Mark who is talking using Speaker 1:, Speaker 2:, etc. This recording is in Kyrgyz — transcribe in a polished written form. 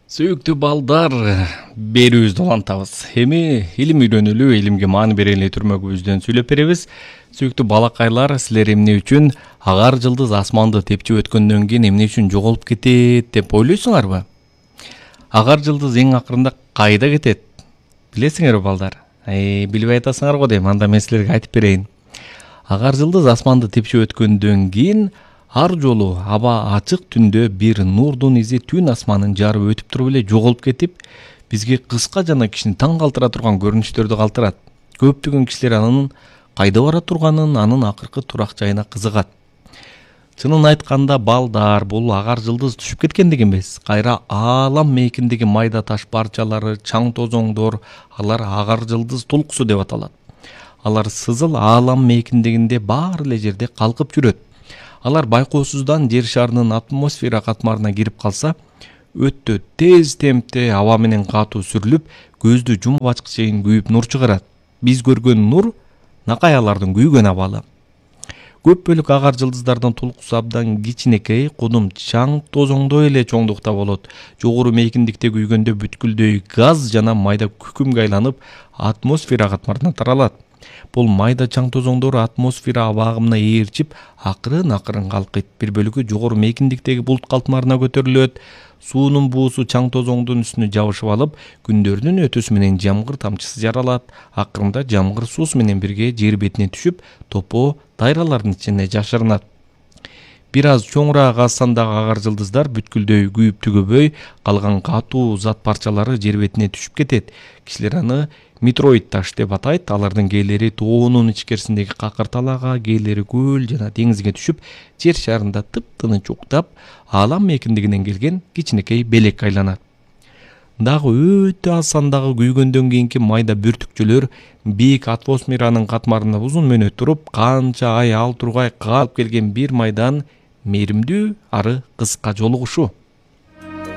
Speaker 1: Сүйүктүү балдар, берүүбүздү улантабыз. Эми илим үйрөнүлүү, илимге маани берели түрмөгүбүздөн сүйлөп беребиз. Сүйүктүү балакайлар, силер эмне үчүн агар жылдыз асманды тепчип өткөндөн кийин эмне үчүн жоголуп кетет деп ойлойсуңарбы? Агар жылдыз эң акырында кайда кетет? Билесиңерби балдар? Билбей атасыңар го дейм, анда мен силерге айтып берейин. Агар жылдыз асманды тепчип өткөндөн кийин ар жолу аба ачык түндө бир нурдун изи түн асманын жарып өтүп туруп эле жоголуп кетип, бизге кыска жана кишини таң калтыра турган көрүнүштөрдү калтырат. Көптөгөн кишилер анын кайда бара турганын, анын акыркы турак жайына кызыгат. Чынын айтканда балдар, бул агар жылдыз түшүп кеткендик эмес, кайра аалам мейкиндеги майда таш парчалары, чаң тозоңдор, алар агар жылдыз толкусу деп аталат. Алар сызыл аалам мейкиндегинде баары эле жерде калкып жүрөт. Алар байкоосуздан жер шарынын атмосфера катмарына кирип калса, өтө тез темпте аба менен катуу сүрүлүп, көздү жумуп ачкыч чейин күйүп нур чыгарат. Биз көргөн нур накай алардын күйгөн абалы. Көп бөлүк агар жылдыздардан толкусу абдан кичинекей, кудум чаң тозоңдой эле чоңдукта болот. Жогору мейкиндикте күйгөндө бүткүлдөй газ жана майда күкүмгө айланып, атмосфера катмарына таралат. Бул майда чаң тозоңдор атмосфера аба агымына ээрчип, акырын калкыйт. Бир бөлүгү жогору мейкиндиктеги булут калтмарына көтөрүлөт. Суунун буусу чаң тозоңдун үстүнө жабышып алып, күндөрдүн өтүүсү менен жамгыр тамчысы жаралат. Акырында жамгыр суусу менен бирге жер бетине түшүп, топоо дайралардын ичине жашырынат. Бир аз чоңураак аз сандагы агар жылдыздар бүткүлдөй күйүп түгөбөй, калган катуу зат парчалары жер бетине түшүп кетет. Кишилер аны метеорит таш деп атайт. Алардын кээлери тоонун ичкерисиндеги какырталаага, кээлери көл жана деңизге түшүп, жер шарында тыптыныч уктап, аалам мейкиндигинен келген кичинекей белекке айланат. Дагы өтө аз сандагы күйгөндөн кийинки майда бүртүкчөлөр бийик атмосферанын катмарында узун мөөнөт туруп, канча ай ал тургай калып келген бир майдан мээримдүү ары кыска жолугушуу.